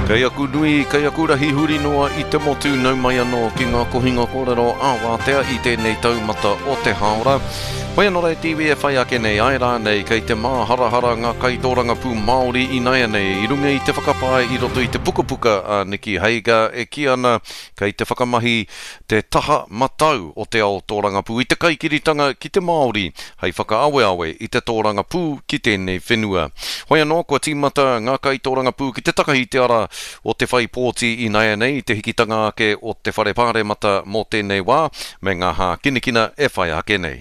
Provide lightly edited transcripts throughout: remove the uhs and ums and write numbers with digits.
Kei aku nui, kei aku rahi huri noa i te motu nau mai anō ki ngā kohinga kōrero ā-wātea i tēnei taumata o te hāora. Whai anō rā te iwi e whai ake nei, āe rānei kei te māharahara ngā kaitōrangapū Māori ināianei i runga i te whakapae i roto i te pukapuka a Nicky Hager e kī ana kei te whakamahi te taha matau o te ao tōrangapū i te kaikiritanga ki te Māori hei whakaaweawe i te tōrangapū ki tēnei whenua. Hoi anō, kua tīmata ngā kaitōrangapū ki te takahi te ara o te whai pōti ināianei i te hikitanga ake o te Whare Pāremata mō tēnei wā, me ngā hākinakina e whai ake nei.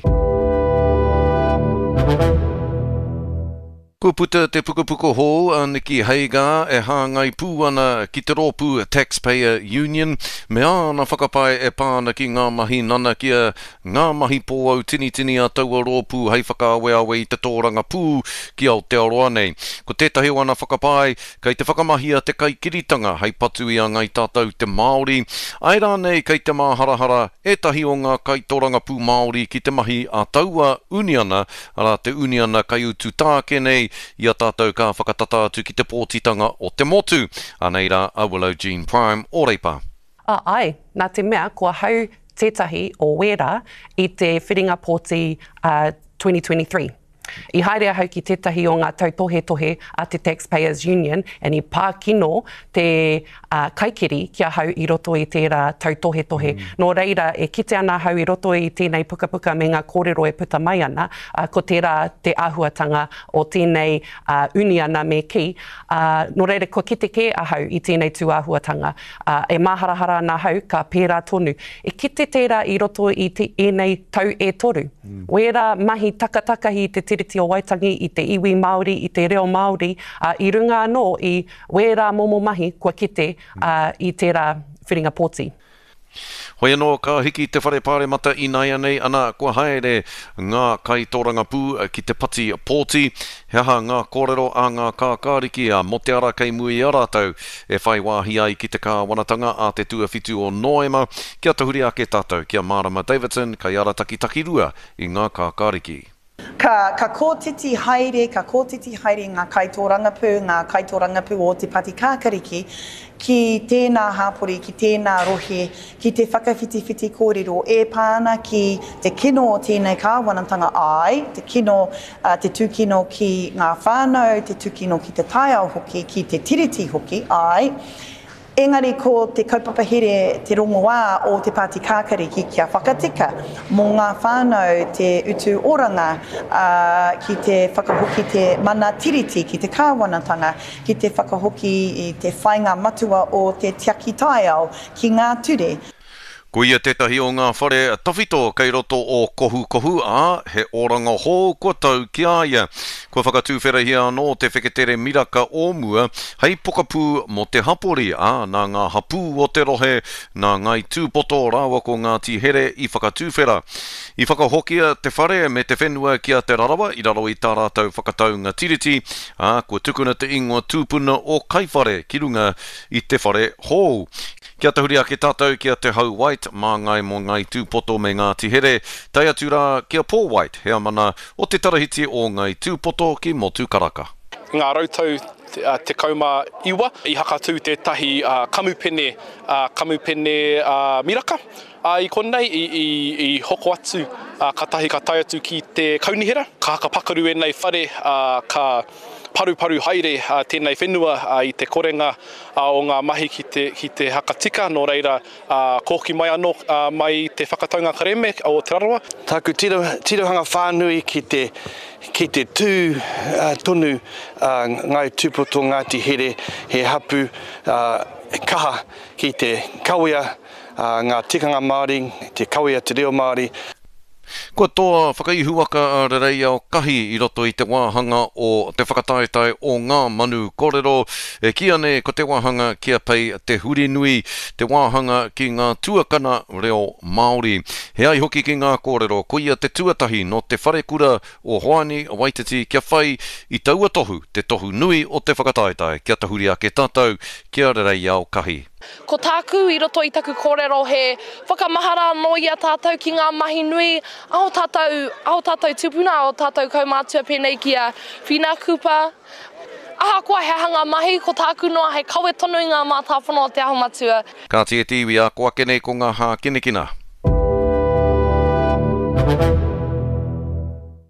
Kua puta te pukapuka hou a Nicky Hagar e hāngai pū ana ki te rōpū Taxpayer Union me āna whakapae e pā ana ki ngā mahi nanakia, ngā mahi pōautinitini a taua rōpū hei whakaaweawe i te tōrangapū ki Aotearoa nei. Ko tētahi o ana whakapae, kei te whakamahia te kaikiritanga hei patu i a Ngai Tātou te Māori, āe rānei kei te māharahara ētahi o ngā kaitorangapū Māori ki te mahi a taua uniana arā te uniana kaiutu tāke nei i a tātou ka whakatata atu ki te pōtitanga o te motu. Anei rā a Willow Jean Prime o Reipa. A, āe, nā te mea ko ahau tētahi o wērā i te whiringa pōti a 2023. I haere ahau ki tētahi o ngā tautohetohe a te Taxpayers Union and i pā kino te kaikiri ki ahau i roto i tērā tautohetohe. Nō reira, e kite ana ahau i roto i tēnei pukapuka me ngā kōrero e puta mai ana, ko tērā te āhuatanga o tēnei uniana me kī, nō reira kua kite kē ahau i tēnei tūāhuatanga. E māharahara ana ahau ka pērā tonu. E kite tērā i roto i ēnei tau e toru. Wērā mahi takatakahi i te Tiriti o Waitangi, i te iwi Māori, i te reo Māori, i runga anō i Wērā momo mahi kua kite i tērā whiringa pōti. Hoi anō, ka hiki te Whare Pāremata ināianei, ana, kua haere ngā kaitōrangapū ki te pati pōti. He aha ngā kōrero a ngā kākāriki mō te ara kei mua i a rātou e whai wāhi ai ki te kāwanatanga a te tuawhitu o Noema? Kia tahuri ake tātou ki a Mārama Davidson, kaiarataki takirua i ngā kākāriki. Ka, ka kōtiti haere, ka kōtiti haere ngā kaitōrangapū, ngā kaitōrangapū o Te Pati Kākariki ki tēnā hāpori, ki tēnā rohe, ki te whakawhitiwhiti kōrero e pā ana ki te kino o tēnei kāwanatanga, āe, te kino, te tūkino ki ngā whānau, te tūkino ki te taiao hoki, ki te Tiriti hoki, āe. Engari ko te kaupapa here te rongoā o Te Pāti Kākariki kia whakatika mō ngā whānau te utu oranga, ā, ki te whakahoki te mana Tiriti ki te kāwanatanga, ki te whakahoki i te whainga matua o te tiaki taiao ki ngā ture. Ko ia tētahi o ngā whare tawhito kei roto o Kohukohu, ā, he oranga hou kua tau ki a ia. Kua whakatuwherahia anō te wheketere miraka o mua hei pokapū mō te hapori, ā, nā ngā hapū o te rohe, nā Ngāi Tūpoto rāua ko Ngāti Here i whakatuwhera. I whakahokia te whare me te whenua ki a Te Rarawa i raro i tā rātou whakataunga tiriti, ā, kua tukuna te ingoa tūpuna o Kaiwhare ki runga i te whare hou. Kia tahuri ake tātou ki a Te Hau White, māngai mō Ngāi Tūpoto me Ngāti Here, tae atu rā ki a Paul White, heamana o te Tarahiti o Ngāi Tūpoto ki Motukaraka. I ngā rautau 19 i hakatū tētahi kamupene, kamupene miraka, ā, i konei i hoko atu, kātahi ka tae atu ki te kaunihera. Ka hakapakaru ēnei whare, ā, ka paruparu haere tēnei whenua i te korenga o ngā mahi ki te, ki te hakatika, nō reira, kōki mai anō mai i te whakataunga kerēme o Te Rarawa. Tāku tiro, tirohanga whānui ki te, ki te tū tonu a Ngāi Tūpoto Ngāti Here he hapū kaha ki te kawea ngā tikanga Māori, te kawea te reo Māori. Kua toa whakaihuwaka a Rereiao Kahi i roto i te wāhanga o te whakataetae o Ngā Manu Korero, e kīia nei ko te wāhanga ki a Pei Te Hurinui, te wāhanga ki ngā tuakana reo Māori. He ai hoki ki ngā kōrero, koia te tuatahi nō te wharekura o Hoani Waititi kia whai i taua tohu, te tohu nui o te whakataetae, kia tahuri ake tātou ki a Rereiao Kahi. Ko tāku i roto i taku kōrero he whakamahara anō i a tātou ki ngā mahi nui a ō tātou, a ō tātou tūpuna, a ō tātou kaumātua pēnei ki a Whina Cooper. Ahakoa he aha ngā mahi, ko tāku noa hei kawe tonu i ngā mātāpono o Te Aho Matua. Kāti e te iwi, ā, ko ake nei ko ngā hākinakina.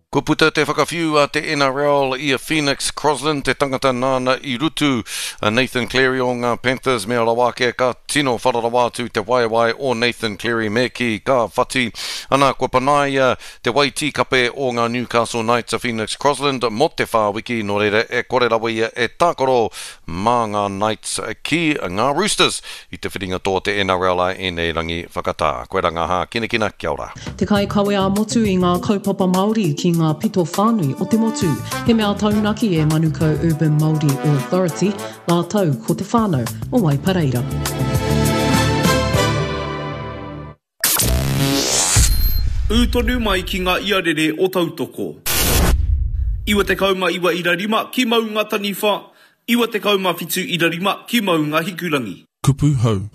Kua puta te whakawhiu a te NRL i a Phoenix Crossland, te tangata nāna i rutu a Nathan Cleary o ngā Panthers mea rawa ake ka tino whara rawa atu te waewae o Nathan Cleary me kī ka whati ana kua panaia te wai tīkape o ngā Newcastle Knights a Phoenix Crossland mō te whā wiki nō reira e kore rawa ia e tākaro mā ngā Knights ki ngā Roosters i te whiringa toa te NRL a ēnei rangi whakatā. Koirā ngā hākinakina, kia ora. Te kaikawe ā-motu i ngā kaupapa Māori ki ngā pito whānui o te motu. He mea taunaki e Manukau Urban Māori Authority rātou ko te whānau o Waipareira. Ū tonu mai ki ngā iarere o Tautoko. 99 ira rima ki Maunga Taniwha, 97 ira rima ki Maunga Hikurangi. Kupu hou.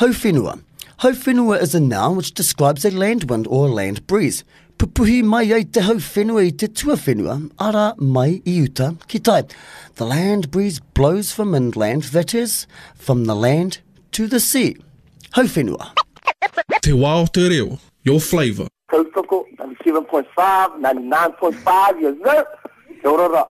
Hauwhenua. Hauwhenua is a noun which describes a land wind or a land breeze. Pupuhi mai ai te hauwhenua i te tuawhenua, arā, mai i uta ki tai. The land breeze blows from inland, that is, from the land to the sea. Hauwhenua. Te wā o te reo, your flavour. Tautoko, 97.5, 99.5, yes sir! Kia ora ra.